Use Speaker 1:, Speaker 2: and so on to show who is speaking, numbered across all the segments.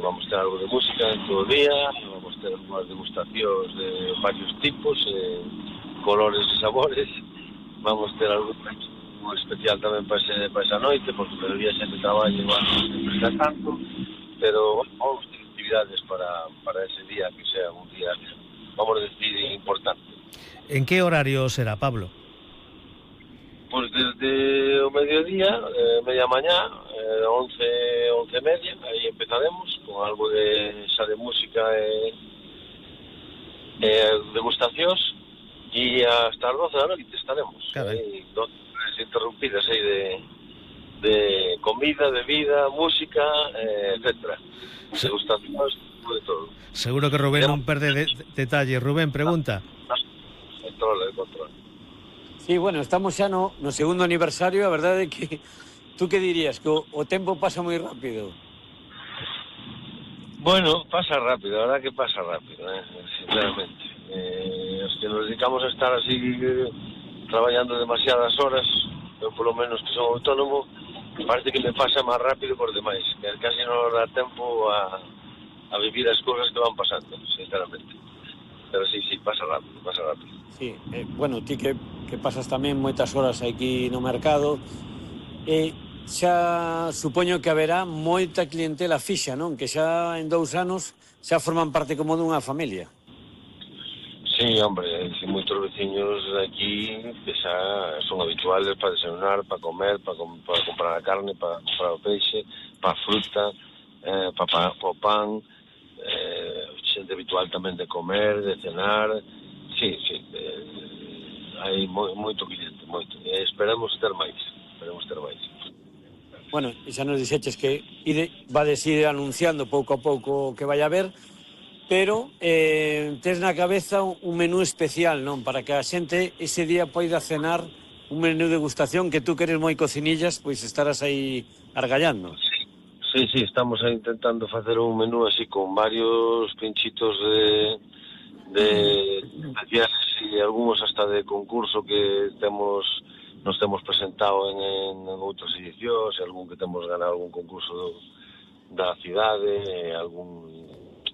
Speaker 1: vamos ter algo de música en todo o día, vamos ter unhas degustacións de varios tipos, colores e sabores, vamos ter algo especial tamén para esa noite, porque o día sempre traballo igual, sempre está tanto, pero vamos ter actividades para ese día, que sea un día, vamos a decir, importante.
Speaker 2: En que horario será, Pablo?
Speaker 1: Pois desde o mediodía, media mañá, 11:30, aí empezaremos con algo de xa de música e degustacións, e hasta as 12 da noite estaremos. Aí 12 horas interrumpidas aí de comida, bebida, música, etcétera. Degustacións, de todo.
Speaker 2: Seguro que Rubén non perde detalle. Rubén, pregunta.
Speaker 1: Control.
Speaker 3: Sí, bueno, estamos xa no segundo aniversario, a verdade é que tú que dirías, que o tempo pasa moi rápido.
Speaker 1: Bueno, pasa rápido, a verdad que pasa rápido, sinceramente. Os que nos dedicamos a estar así traballando demasiadas horas, eu polo menos que son autónomo, parece que me pasa máis rápido por demais, que casi non nos dá tempo a vivir as cousas que van pasando, sinceramente. Pero sí, pasa rápido.
Speaker 3: Sí, bueno, ti que pasas tamén moitas horas aquí no mercado, xa supoño que haberá moita clientela fixa, non? Que xa en 2 anos xa forman parte como dunha familia.
Speaker 1: Sí, hombre, hai moitos veciños aquí que xa son habituales para desayunar, para comer, para comprar a carne, para comprar o peixe, para a fruta, para o pan, xente habitual tamén de comer, de cenar. Sí, hai moito cliente, moito. Esperamos ter máis.
Speaker 3: Bueno, e xa nos dixeches que vades ir anunciando pouco a pouco que vai haber, pero tes na cabeza un menú especial, non? Para que a xente ese día poida cenar un menú de degustación, que tú que eres moi cocinillas, pois estarás aí argallando.
Speaker 1: Sí, estamos aí intentando facer un menú así con varios pinchitos de especiales e algúns hasta de concurso que nos temos presentado en outras edicións, algún que temos ganado algún concurso da cidade, algún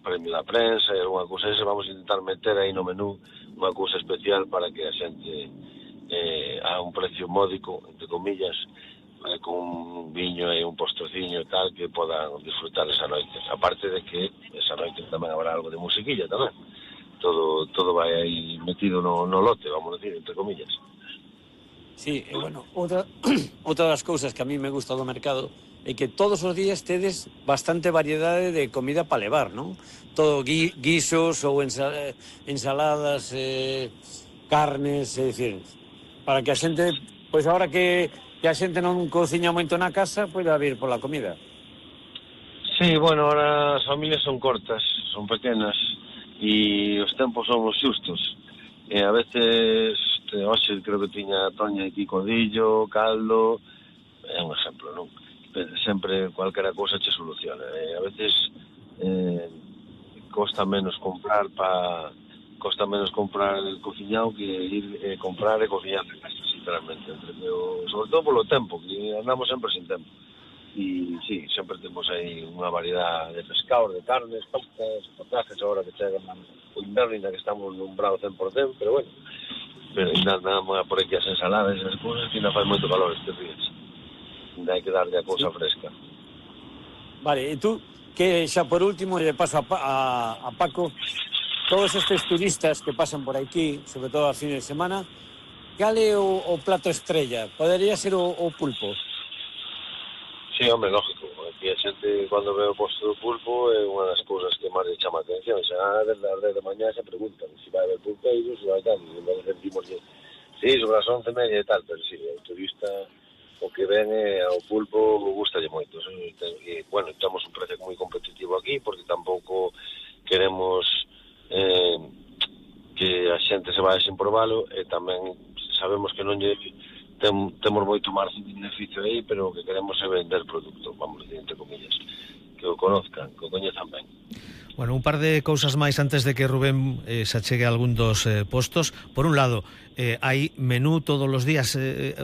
Speaker 1: premio da prensa e algunha cousa esa. Vamos a intentar meter aí no menú unha cousa especial para que a xente a un precio módico, entre comillas, con un viño e un postrociño e tal, que podan disfrutar esa noite. Aparte de que esa noite tamén habrá algo de musiquilla tamén. Todo vai aí metido no lote, vamos a decir, entre comillas.
Speaker 3: Sí, bueno, outra das cousas que a mí me gusta do mercado é que todos os días tedes bastante variedade de comida para levar, non? Todo guisos ou ensaladas, carnes, é dicir, para que a xente, pois agora que a xente non cociña moito na casa, poida vir pola comida.
Speaker 1: Sí, bueno, ahora as familias son cortas, son pequenas, e os tempos son os xustos. E a veces, hoxe creo que tiña Toña aquí codillo, caldo, é un exemplo, non? Sempre cualquera cousa che soluciona. A veces costa menos comprar cociñado que ir comprar e cociñar en casa, sinceramente. Sobre todo polo tempo, que andamos sempre sin tempo. E sí, sempre temos aí unha variedade de pescados, de carnes, pastas, potajes, agora que chegan o inverno, ainda que estamos nun bravo 100%, pero bueno, ainda andamos por aquí as ensaladas e as cousas, que ainda faz moito calor estes días. Ainda hai que darlle a cousa fresca.
Speaker 3: Vale, e tú, que xa por último lle paso a Paco, todos estes turistas que pasan por aquí, sobre todo a fin de semana, cal é o plato estrella? Podería ser o pulpo?
Speaker 1: Sí, hombre, lógico. Aquí a xente, cando ve o posto do pulpo, é unha das cousas que máis lle chama a atención. Xa desde as 10 de mañá se preguntan se vai haber pulpeiros, se vai tal, e nós decimos que sí, sobre as 11:30 e tal, pero sí, o turista o que ven ao pulpo gustalle moito. E, bueno, estamos un precio moi competitivo aquí, porque tampouco queremos que a xente se vaya sin probalo, e tamén sabemos que non lle temos moito margen de beneficio aí, pero o que queremos é vender produto, vamos a decir, entre comillas, que o conozcan, que o coñezan ben.
Speaker 2: Bueno, un par de cousas máis antes de que Rubén se achegue a algún dos postos. Por un lado, hai menú todos os días,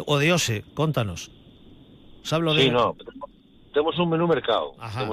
Speaker 2: o de hoxe, contanos. Sablo de...
Speaker 1: Sí, no, temos un menú mercado.
Speaker 2: Ajá.